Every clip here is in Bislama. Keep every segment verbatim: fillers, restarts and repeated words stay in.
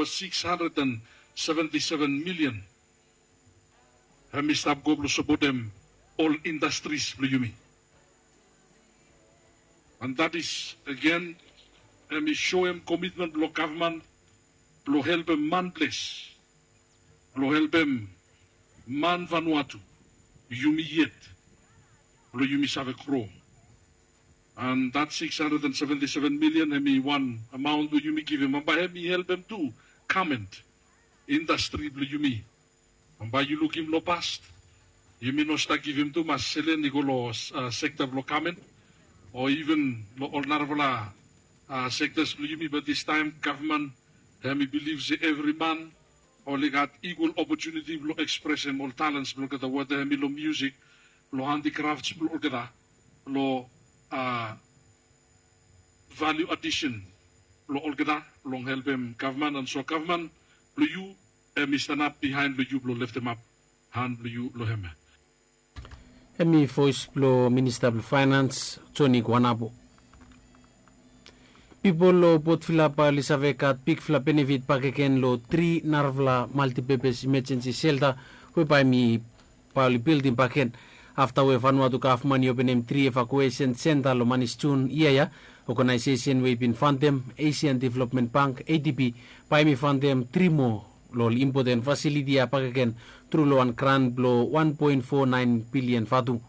six hundred and seventy-seven million hemi stap go blong sapotem ol indastris blong yumi. And that is again, hemi soem komitmen blong gavman blong helpem manples, blong helpem man Vanuatu, yumi yet, blong yumi save gro. And that six hundred and seventy-seven million hemi wan amaon blong yumi givim, bambae hemi helpem tu gament indastri blong yumi. Bambae yu lukim long past, yumi no stap givim tumas selen i go long sekta blong gament o iven long ol narafala sektas blong yumi. Bat distaem gavman hemi bilif se evri man oli gat ikwal opotuniti blong ekspresem ol talens blong olgeta, weta hemi long miusik, long handikrafts blong olgeta, long valiu adisen blong olgeta, long helpem gavman and so gavman blong yu hemi stanap bihaen blong yu blong leftemap han blong yu long hem. Hemi voes blong minista blong faenans, Joni Guanabo. Pipol long Port Vila bae oli save gat bigfala benefit bakegen long tri narafala maltipepes imajensi selta we bae hemi bae oli bildim bakegen. Afta we Vanuatu gavman i openem tri evakuesen senta long manis Jun yia ya, oganaesesen we i bin fantem, Asian Development Bank, A D B, bae hemi fantem tri moa long ol impoten fasiliti ya bakegen tru long wan gran blong wan poen fo naen bilian vatu.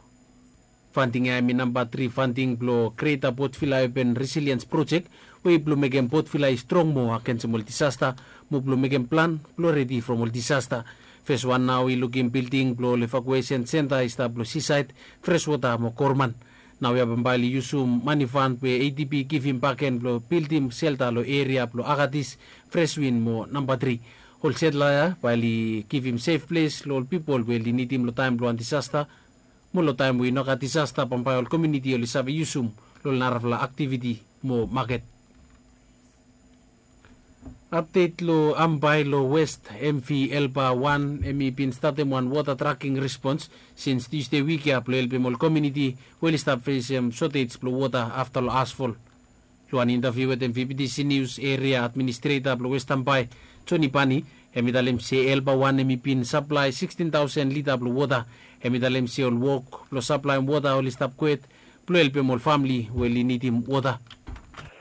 Fanting ya hemi namba tri fanting blong Greater Port Vila Urban Resilience Project, we i blong mekem Port Vila i strong moa agensem ol disasta, mo blong mekem plan blong redi from ol disasta. Fes wan nao i lukim bilding blong ol evakuesen senta i stap long sisaed, freswota mo gorman. Naoia bambae oli yusum mani fan we A D B i givim bakegen blong bildim selta long eria blong Agatis, Freswin mo namba tri. Ol setla ya bae oli givim sef ples long ol pipol we oli nidim long taem blong wan disasta, mo long taem we i no gat disasta bambae ol komuniti oli save yusum long ol narafala aktiviti mo maket. Apdet long Ambae long West, M V Elba wan hemi bin statem wan wota traking respons sins Tusde wik ya blong helpem ol komuniti we oli stap fesem sotej blong wota afta long asfol. Long wan intaviu wetem V B T C News, eria administreta blong West Ambae, Joni Bani, hemi talem se Elba wan hemi bin saplae sikstin taosen lita blong wota. Hemi talem se ol wok blong saplaem wota oli stap kwet blong helpem ol famle we oli nidim wota.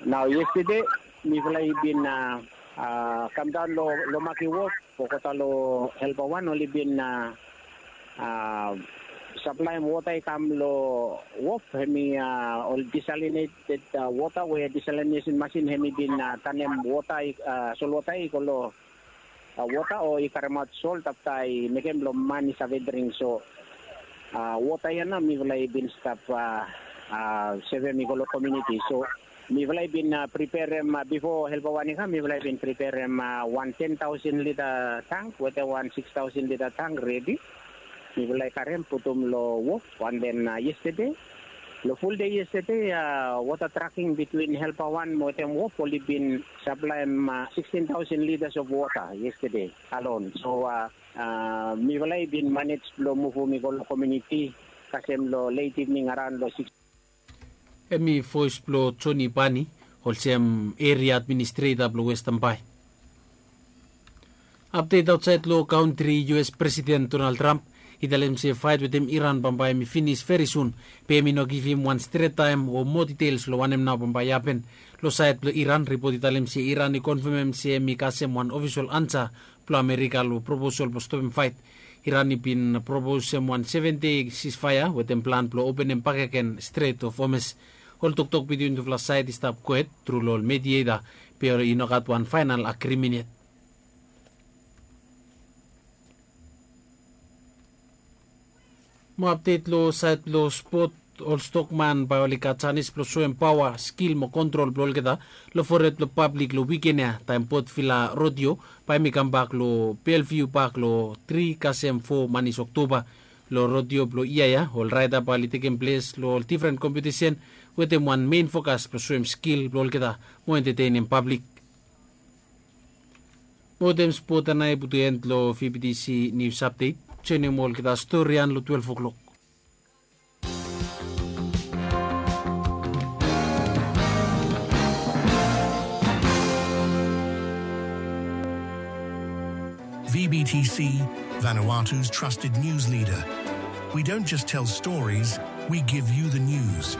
Nao yestede mifala i bin a, a, kamdaon long, long Maki Wof, olgeta long Elba wan oli bin a, a, saplaem wota i kam long wof, hemi a, ol disalineted a, wota we disalineson masin hemi bin a, tanem wota i, a, solwota i go long a, wota o i karemaot sol afta i mekem blong man i save dring. So a, wota ya nao mifala i bin stap a, a, sevem i go long komuniti. So mifala i bin a, priperem a, bifo Elba wan i kam, mifala i bin priperem a, wan ten taosen lita tank wetem wan siks taosen lita tank redi. Mifala i karem putum long wof, and then a, yestede, long fuldei yestede a, wota traking bitwin Elba wan mo wetem wof oli bin saplaem a, sikstin taosen litas of wota yestede alon. So a, a, mifala i bin manej blong muvum i go long komuniti kasem long let ivning araon long siks. Hemi voes blong Joni Bani, olsem eria administreta blong West Ambae. Apdet aotsaed long kantri, U S Presiden Donald Trump i talem se faet wetem Iran bambae hemi finis veri sun, be hemi no givim wan stret taem o moa ditels long wanem nao bambae i hapen. Long saed blong Iran, ripot i talem se Iran i konfamem se hemi kasem wan ofisol ansa blong Amerika long proposal blong stopem faet. Iran i bin proposem wan seven dei sisfaea wetem plan blong openem bakegen Strait of Hormuz. Ol toktok bitwin tufala saed i stap kwet tru long ol medieta, be i no gat wan faenal agrimen yet. Mo apdet long saed blong spot, ol stokman bae oli gat janis blong soem paoa, skil mo kontrol blong olgeta long fored blong pablik long wiken ya, taem Port Vila Rodeo bae hemi kambak long Bellevue Park long tri kasem fo manis Oktoba. Long rodeo blong yia ya, ol raeda bae oli tekem ples long ol difren kompetisen wetem wan mein fokas blong soem skil blong olgeta mo entetenem pablik. Mo wetem spot ya nao i putum en long V B T C News Update. Joenem olgeta storian long twelef o'klok. V B T C, Vanuatu's trusted news leader. We don't just tell stories, we give you the news.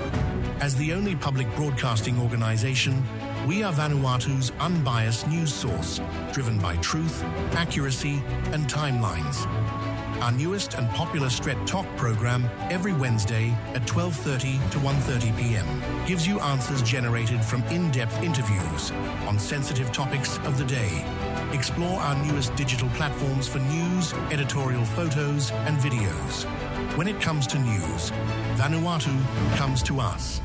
As the only public broadcasting organization, we are Vanuatu's unbiased news source, driven by truth, accuracy, and timelines. Our newest and popular Stret Talk program, every Wednesday at twelve thirty to one thirty p m, gives you answers generated from in-depth interviews on sensitive topics of the day. Explore our newest digital platforms for news, editorial photos, and videos. When it comes to news, Vanuatu comes to us.